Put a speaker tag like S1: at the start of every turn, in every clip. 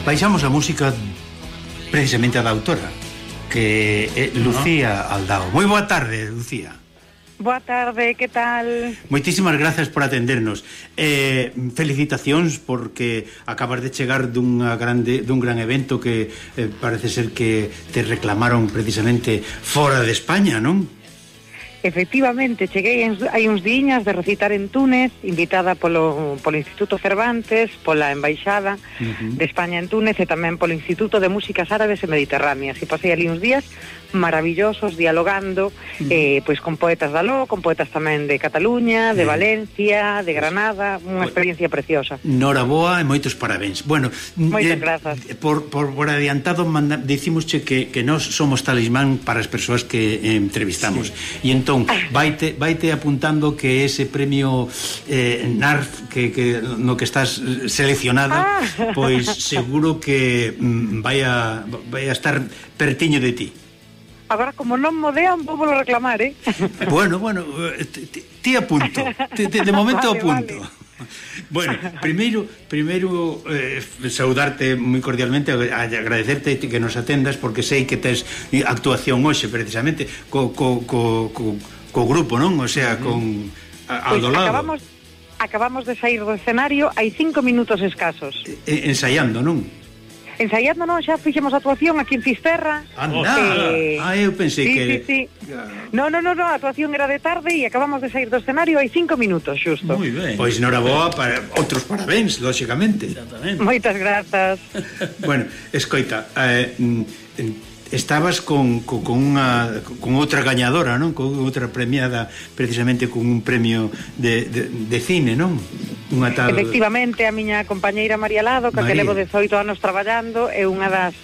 S1: baixamos a música precisamente a da autora, que é Lucía Aldao. Moi boa tarde, Lucía.
S2: Boa tarde, que tal?
S1: Moitísimas grazas por atendernos. Felicitacións porque acabas de chegar dun gran evento que parece ser que te reclamaron precisamente fora de España, non?
S2: Efectivamente, cheguei hai uns diñas de recitar en Túnez, invitada polo Instituto Cervantes, pola Embaixada de España en Túnez e tamén polo Instituto de Músicas Árabes e Mediterráneas. E pasei ali uns días maravillosos dialogando pois con poetas de aló, con poetas tamén de Cataluña, de Valencia, de Granada, unha experiencia preciosa.
S1: Noraboa e moitos parabéns. Bueno,
S2: moitas grazas.
S1: Por adiantado dicimosche que nós somos talismán para as persoas que entrevistamos. E entón vaite apuntando que ese premio NARF no que estás seleccionada, pois seguro que vai a estar pertiño de ti.
S2: Agora, como non modean, vou reclamar,
S1: Bueno, ti apunto. De momento apunto. Bueno, primeiro saudarte moi cordialmente, agradecerte que nos atendas, porque sei que tes actuación hoxe precisamente co grupo, non? O sea, con ao do lado.
S2: Acabamos de sair do escenario hai 5 minutos escasos.
S1: Ensaiando, non?
S2: Ensaiando, non, xa fixemos actuación aquí en Fisterra.
S1: Anda, eu pensei que...
S2: Sí. No, a actuación era de tarde e acabamos de sair do escenario hai 5 minutos, xusto.
S1: Moi ben. Pois noraboa, outros parabéns, lóxicamente.
S2: Exactamente. Moitas grazas.
S1: Bueno, escoita, estabas con outra gañadora, non? Con outra premiada, precisamente con un premio de cine, non? Unha tal...
S2: Efectivamente, a miña compañeira María Lado, que levo 18 anos traballando, é unha das...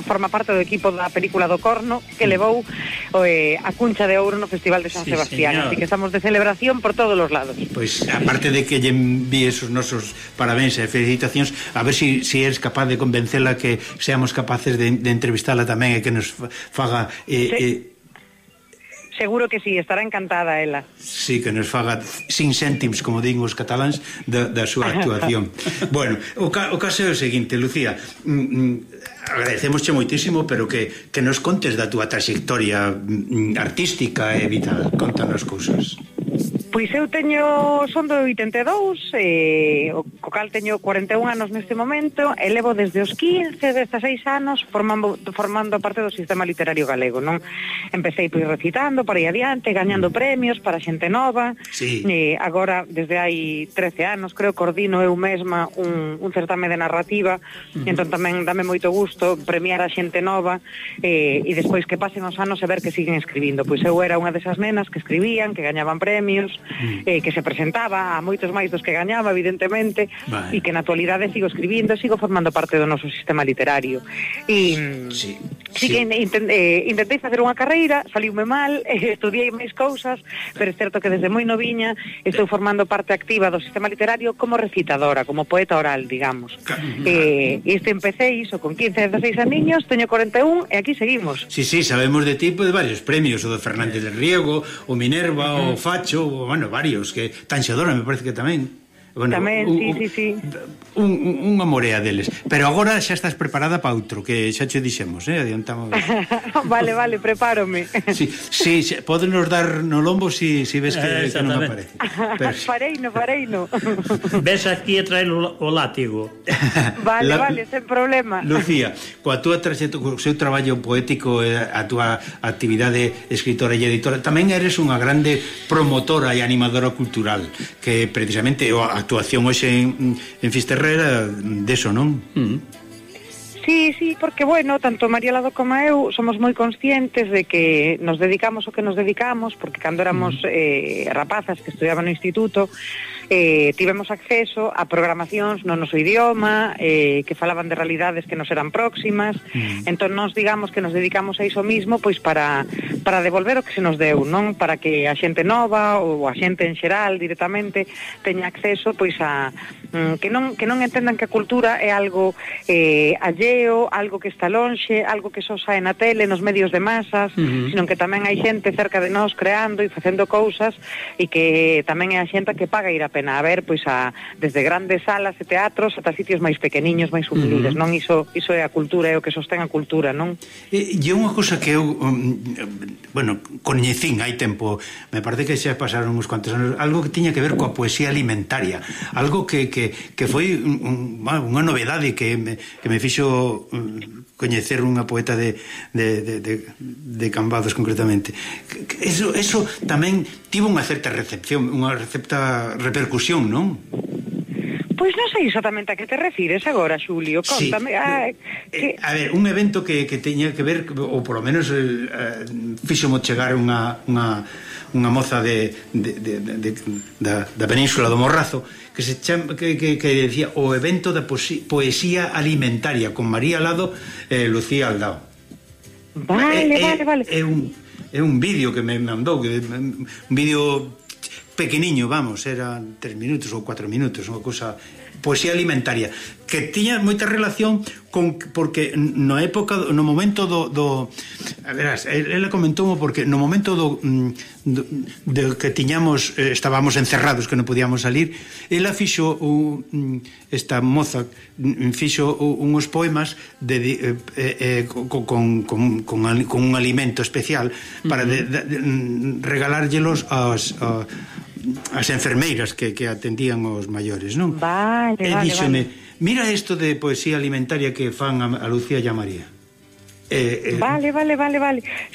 S2: forma parte do equipo da película do Corno, que levou a Cuncha de Ouro no Festival de San Sebastián. Señor. Así que estamos de celebración por todos os lados.
S1: Pois, aparte de que lle envíes os nosos parabéns e felicitacións, a ver se eres capaz de convencela que seamos capaces de entrevistala tamén e que nos faga...
S2: Seguro que sí, estará encantada ela.
S1: Sí, que nos faga sin céntimos, como din os cataláns, da súa actuación. Bueno, o caso é o seguinte, Lucía, agradecemosche moitísimo, pero que nos contes da túa trayectoria artística e vital. Contanos cousas.
S2: Pois eu son do 82, co cal teño 41 anos neste momento, e levo desde os 15, 16 anos formando parte do sistema literario galego, non? Empecei pois recitando, por aí adiante, gañando premios para xente nova.
S1: Sí.
S2: Agora, desde hai 13 anos, creo, coordino eu mesma un certame de narrativa, entón tamén dame moito gusto premiar a xente nova, e despois que pasen os anos e ver que siguen escribindo. Pois eu era unha desas nenas que escribían, que gañaban premios, que se presentaba a moitos máis dos que gañaba, evidentemente, e que na actualidade sigo escribindo, sigo formando parte do noso sistema literario. E que intentei facer unha carreira, saliume mal, estudiei máis cousas, pero é certo que desde moi noviña estou formando parte activa do sistema literario como recitadora, como poeta oral, digamos. Isto empecé iso con 15, 16 aniños, teño 41 e aquí seguimos.
S1: Sí, sabemos de ti de varios premios, o do Fernández del Riego, o Minerva, o Facho, bueno, varios, que Tanxadora me parece que tamén. Bueno,
S2: tamén, sí.
S1: Unha morea deles. Pero agora xa estás preparada para outro, que xa che dixemos, adiantamos.
S2: Vale, prepárome.
S1: Sí, podenos dar no lombo si ves que non aparece.
S2: Fareino.
S3: Ves aquí e trae o látigo.
S2: Vale, sen problema.
S1: Lucía, coa túa trayectoria, co seu traballo poético, a túa actividade escritora e editora, tamén eres unha grande promotora e animadora cultural, que precisamente a actuación hoxe en Fisterrera deso, non?
S2: Sí, porque, bueno, tanto María Lado como eu somos moi conscientes de que nos dedicamos o que nos dedicamos, porque cando éramos rapazas que estudiaban no instituto, tivemos acceso a programacións no noso idioma, que falaban de realidades que nos eran próximas, entón nos digamos que nos dedicamos a iso mismo pois para devolver o que se nos deu, non? Para que a xente nova ou a xente en xeral directamente teña acceso pois a que non entendan que a cultura é algo alleo, algo que está lonxe, algo que só sae na tele, nos medios de masas, sino que tamén hai xente cerca de nós creando e facendo cousas, e que tamén é a xente que paga ir a pena ver pois desde grandes salas e teatros ata sitios máis pequeniños, máis humildes, non? Iso é a cultura, é o que sostén a cultura, non?
S1: E unha cousa que eu coñecín hai tempo, me parece que xa pasaron uns cuantos anos, algo que tiña que ver coa poesía alimentaria, algo que foi unha novedade que me fixo coñecer unha poeta de Cambados concretamente. Eso tamén tivo unha certa recepción, unha certa repercusión, non?
S2: Pois non sei exatamente a que te refires agora, Xulio, contame.
S1: Sí. A ver, un evento que teña que ver, ou polo menos fíxomo chegar unha moza da Península do Morrazo que se chama, que decía o evento da poesía alimentaria con María Lado e Lucía Aldao.
S2: Vale.
S1: É un vídeo que me mandou, un vídeo pequeniño, vamos, era 3 minutos ou 4 minutos, unha cousa, poesía alimentaria, que tiña moita relación porque no momento do a verás, ela comentou porque no momento do que tiñamos, estábamos encerrados, que non podíamos salir, ela fixo esta moza fixo unhos poemas con un alimento especial para regalárllelos as enfermeiras que atendían os maiores, non?
S2: Vale.
S1: Díxome, mira isto de poesía alimentaria que fan a Lucía e a María.
S2: Vale.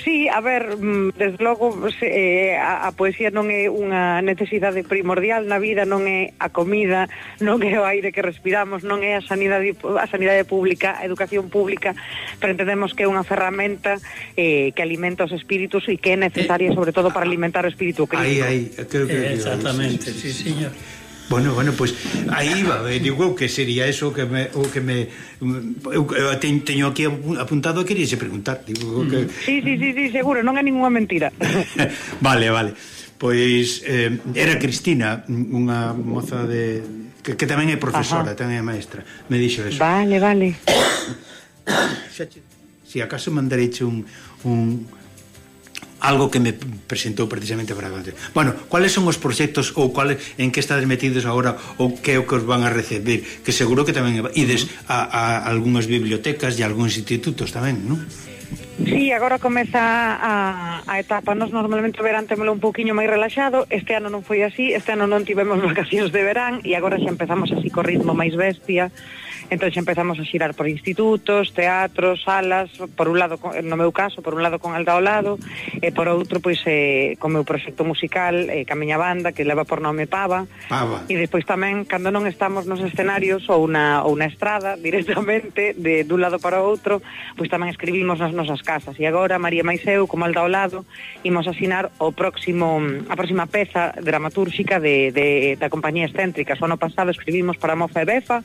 S2: Sí, a ver, desde logo a poesía non é unha necesidade primordial na vida, non é a comida, non é o aire que respiramos, non é a sanidade pública, a educación pública, pero entendemos que é unha ferramenta que alimenta os espíritus e que é necesaria sobre todo para alimentar o espírito crítico.
S1: Creo que
S3: exactamente, sí, señor.
S1: Bueno, pois aí iba, digo que sería eso que eu teño aquí apuntado e queríase preguntar, digo que
S2: Sí, seguro, non é ninguna mentira.
S1: Vale. Pois era Cristina, unha moza que tamén é profesora, tamén é maestra, me dixo eso.
S2: Vale.
S1: Si acaso mandareiche algo que me presentou precisamente para contar. Bueno, cuáles son os proxectos ou en que estades metidos agora ou que é o que os van a recibir, que seguro que tamén ides a algunhas bibliotecas e a algúns institutos tamén, non?
S2: Sí, agora comeza a etapa. Nos normalmente o verán témolo un pouquiño máis relaxado. Este ano non foi así, este ano non tivemos vacacións de verán e agora xa empezamos así co ritmo máis bestia. Entón xa empezamos a xirar por institutos, teatros, salas, por un lado, no meu caso, por un lado con Alda ao lado, e por outro, pois, con o meu proxecto musical, ca miña banda, que leva por nome Pava. E despois tamén, cando non estamos nos escenarios ou na estrada, directamente, dun lado para o outro, pois tamén escribimos nas nosas casas. E agora, María máis eu, como Alda ao lado, imos asinar a próxima peza dramatúrxica da compañía Excéntricas. O ano pasado escribimos para Mofa e Befa,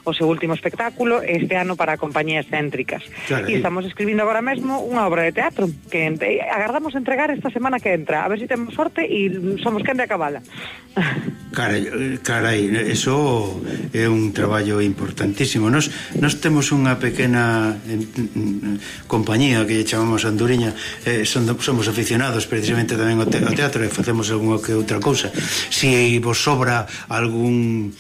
S2: o seu último espectáculo, este ano para a compañía Excéntricas. E estamos escribindo agora mesmo unha obra de teatro que agardamos entregar esta semana que entra, a ver se temos sorte e somos quen de acabala.
S1: Carai, eso é un traballo importantísimo. Nos temos unha pequena compañía que chamamos Anduriña, somos aficionados precisamente tamén ao teatro e facemos algunha que outra cousa. Se vos sobra algunha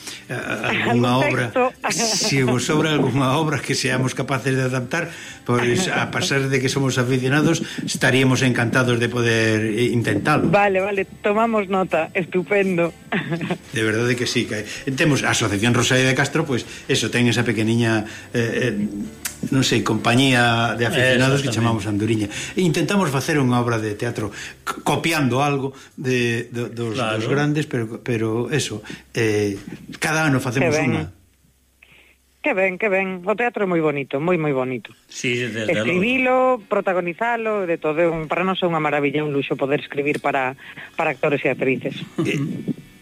S1: obra, se vos sobra algunha obra que seamos capaces de adaptar, pois a pasar de que somos aficionados estaríamos encantados de poder intentalo.
S2: Vale, tomamos nota, estupendo.
S1: De verdade que sí, que temos a Asociación Rosalía de Castro, pois eso, ten esa pequeniña non sei, compañía de aficionados que chamamos Anduriña. E intentamos facer unha obra de teatro copiando algo dos grandes, pero eso, cada ano facemos unha.
S2: Que ben. O teatro é moi bonito, moi bonito.
S3: Sí, desde
S2: escribilo, protagonizalo, de todo. Para nós é unha maravilla, un luxo poder escribir para actores e actrices.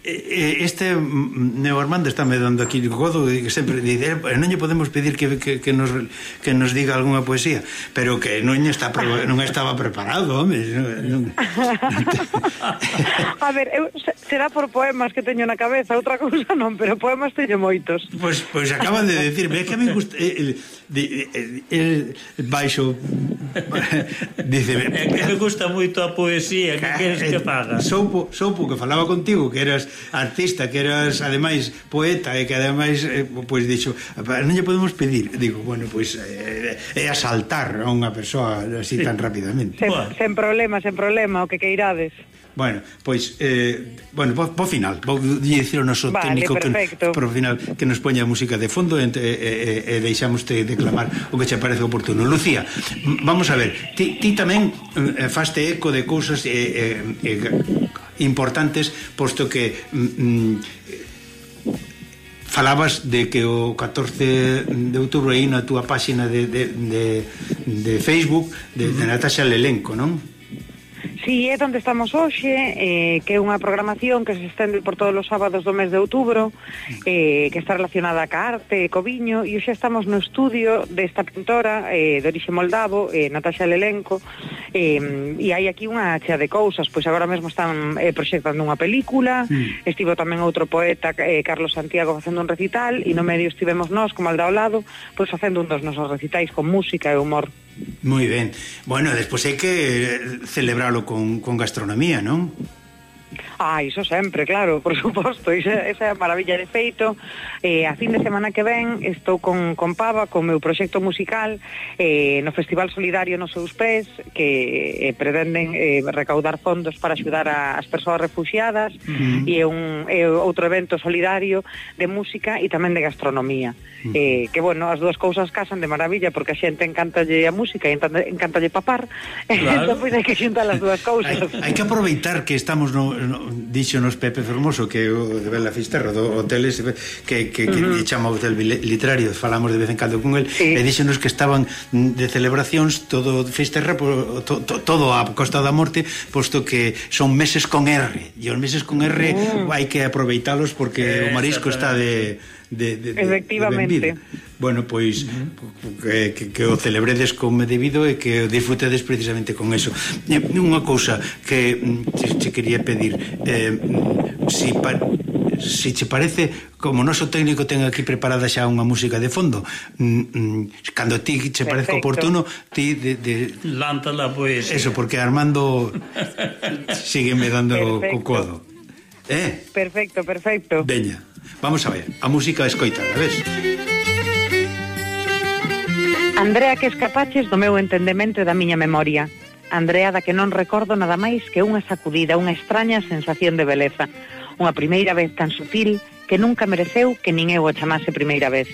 S1: Este Neo Armando está me dando aquí godo que sempre dice, non lle podemos pedir que nos diga algunha poesía, pero que non estaba preparado, home.
S2: A ver, será por poemas que teño na cabeza, outra cousa non, pero poemas teño moitos.
S1: Pois acaban de decirme, é que a mí gusta el baixo Dice,
S3: É que me gusta moito a poesía, que queres que faga?
S1: Soupo que falaba contigo, que eras artista, que eras ademais poeta e que ademais pois dixo, non lle podemos pedir. Digo, bueno, pois é asaltar a unha persoa así tan rapidamente.
S2: Sen problema, o que queirades.
S1: Bueno, pois po final vou dicir ao noso técnico que por final que nos poña a música de fondo e deixamos de declamar o que che parece oportuno. Lucía, vamos a ver, ti tamén faste eco de cousas importantes, posto que falabas de que o 14 de outubro aí na túa páxina de Facebook de Natasha Lelenko, non?
S2: Sí, é onde estamos hoxe, que é unha programación que se estende por todos os sábados do mes de outubro, que está relacionada ca arte, co viño, e hoxe estamos no estudio desta pintora de orixe moldavo, Natasha Lelenko, e hai aquí unha chea de cousas, pois agora mesmo están proxectando unha película, estivo tamén outro poeta, Carlos Santiago, facendo un recital, e no medio estivemos nós, como al ao lado, pois facendo un dos nosos recitais con música e humor.
S1: Moi ben. Bueno, despois hai que celebralo con gastronomía, non?
S2: Iso sempre, claro, por suposto, esa é a maravilla de feito. A fin de semana que ven estou con Pava, con o meu proxecto musical no Festival Solidario nos seus pés, que pretenden recaudar fondos para axudar as persoas refugiadas, e é outro evento solidario de música e tamén de gastronomía, que bueno, as dúas cousas casan de maravilla, porque a xente encantalle a música e encantalle papar, entón pois hai que xuntar as dúas cousas.
S1: Hai que aproveitar que estamos díxonos Pepe Fermoso, que o de Bela Fisterra do hotel ese, que chama Hotel Literario, falamos de vez en cando con el, e díxonos que estaban de celebracións todo Fisterra, todo a Costa da Morte, posto que son meses con R, e os meses con R hai que aproveitalos porque o marisco está de
S2: efectivamente.
S1: Bueno, pois que o celebredes como debido e que o disfrutedes precisamente con eso. Unha cousa que te quería pedir, si che parece, como o noso técnico ten aquí preparada xa unha música de fondo, cando ti che parece oportuno, ti
S3: lántala, pois.
S1: Eso, porque Armando sígueme dando co codo.
S2: Perfecto.
S1: Veña, vamos a ver, a música escoitada, ves?
S2: Andrea, que escapaches do meu entendemento e da miña memoria. Andrea, da que non recordo nada máis que unha sacudida, unha extraña sensación de beleza. Unha primeira vez tan sutil que nunca mereceu que nin eu o chamase primeira vez.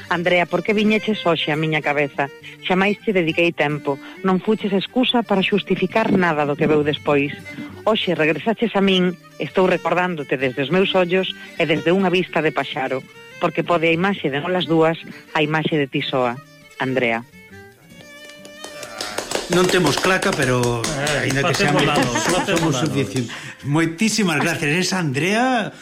S2: Andrea, por que viñeches hoxe a miña cabeza? Xamais te dediquei tempo, non fuches excusa para xustificar nada do que veu despois. Hoxe regresaches a min, estou recordándote desde os meus ollos e desde unha vista de paxaro, porque pode a imaxe de nolas dúas, a imaxe de ti soa. Andrea.
S1: Non temos claca, pero ainda que somos suficientes. Moitísimas gracias. Esa Andrea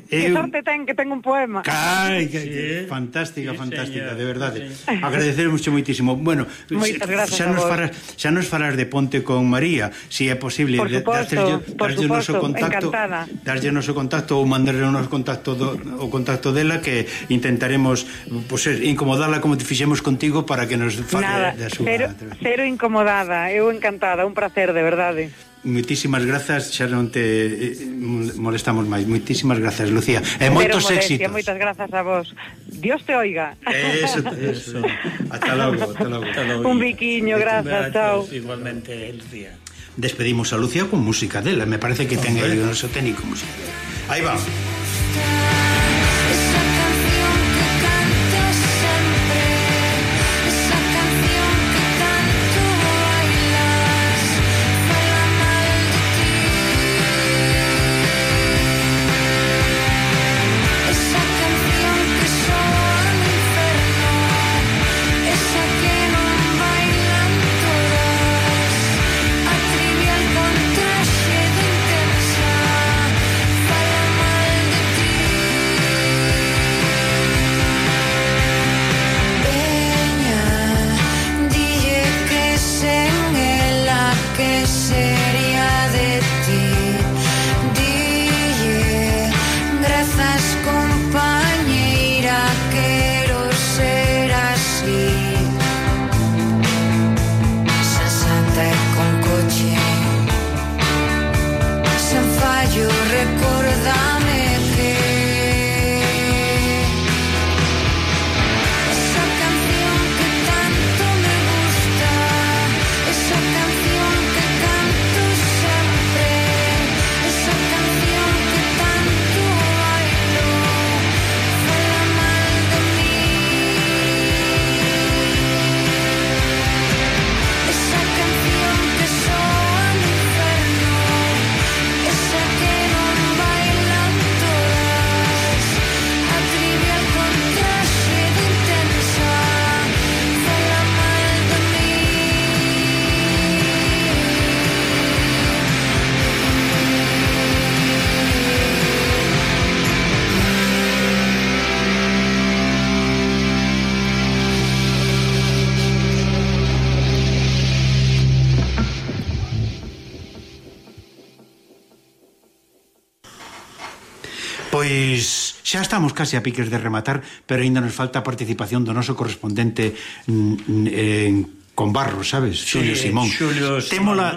S2: que sorte ten, que ten un poema.
S1: Fantástica, de verdade. Agradeceremos moitísimo. Bueno, xa nos falas de Ponte con María, se é posible darlle o noso contacto ou mandarle o noso contacto o contacto dela, que intentaremos incomodala como te fixemos contigo para que nos fale da súa.
S2: Cero incomodada, eu encantada, un placer, de verdade.
S1: Moitísimas grazas, xa non te molestamos máis. Moitísimas grazas, Lucía. E moitos éxitos.
S2: Moitas grazas a vos. Dios te oiga.
S1: Eso. Hasta logo.
S2: Un biquiño, grazas, chao.
S3: Igualmente, Lucía.
S1: Despedimos a Lucía con música dela. Me parece que ten aí o noso técnico música. Aí va. Pois xa estamos case a piques de rematar, pero aínda nos falta a participación do noso correspondente con Barros, sabes?
S3: Sí,
S1: Xulio Simón.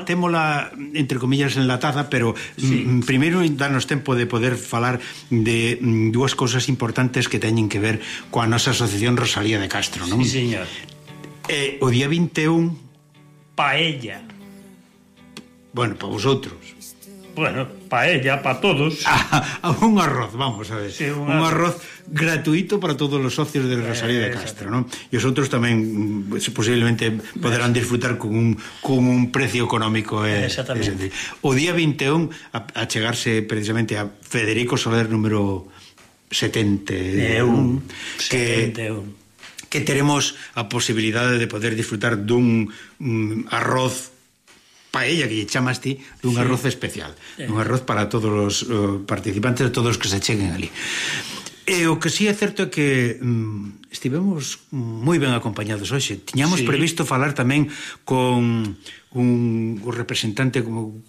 S1: Témola, entre comillas, enlatada, pero primeiro danos tempo de poder falar de dúas cousas importantes que teñen que ver coa nosa asociación Rosalía de Castro, non?
S3: Sí, señor.
S1: O día 21...
S3: Paella.
S1: Bueno, para vosotros.
S3: Bueno, paella, para todos.
S1: Un arroz, vamos a ver.
S3: Sí, un
S1: arroz gratuito para todos os socios de Rosalía de Castro, non? E os outros tamén posiblemente poderán disfrutar con un precio económico.
S3: Exactamente.
S1: O día 21 a chegarse precisamente a Federico Soler número 71 que teremos a posibilidade de poder disfrutar dun arroz paella, que lle chamas ti, dun arroz especial, un arroz para todos os participantes, todos os que se cheguen ali. E o que sí é certo é que estivemos moi ben acompañados hoxe. Tiñamos previsto falar tamén con un representante un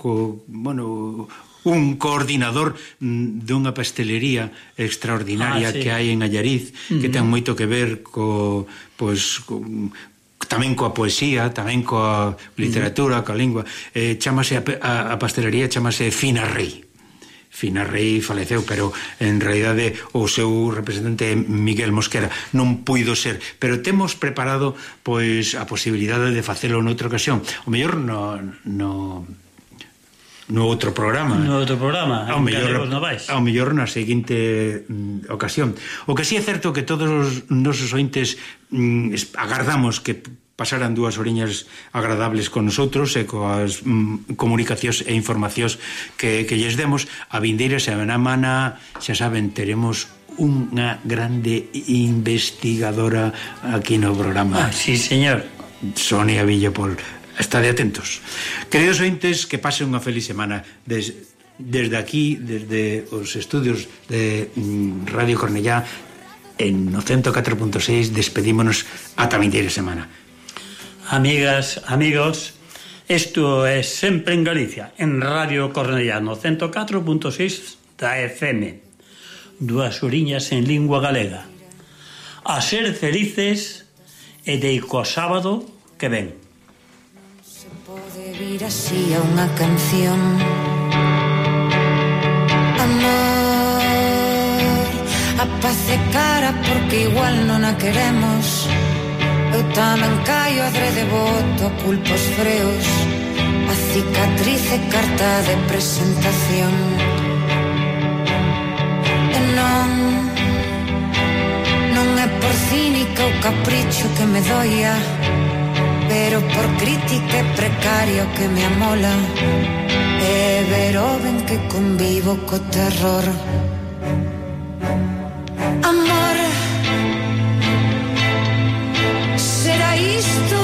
S1: coordinador dunha pastelería extraordinaria que hai en Allariz, que ten moito que ver tamén coa poesía, tamén coa literatura, coa lingua. Chámase a pastelería, chámase Fina Rei. Fina Rei faleceu, pero en realidade o seu representante Miguel Mosquera non puido ser, pero temos preparado pois a posibilidade de facelo noutra ocasión, o mellor no outro programa.
S3: No outro programa,
S1: ao mellor na seguinte ocasión. O que sí é certo que todos os nosos ointes agardamos que pasaran 2 horiñas agradables con nosotros e coas comunicacións e informacións que lles demos. A vindeira semana, xa saben, teremos unha grande investigadora aquí no programa.
S3: Sí, señor.
S1: Sonia Villapol. Estade atentos. Queridos ointes, que pasen unha feliz semana. Desde aquí, desde os estudios de Radio Cornellá, en 104.6, despedímonos ata a vindeira semana.
S3: Amigas, amigos, isto é Sempre en Galicia, en Radio Cornellá, 104.6 da FM. 2 horiñas en lingua galega. A ser felices e deico sábado que ven.
S4: Se pode vir así a unha canción. Amor, a paz é cara porque igual non a queremos. Eu tamén caio adrede boto, culpo os freos. A cicatriz é carta de presentación. E non é por cínica ou capricho que me doia, pero por crítica e precario que me amola. E ver o ben que convivo co terror. Amor, será isto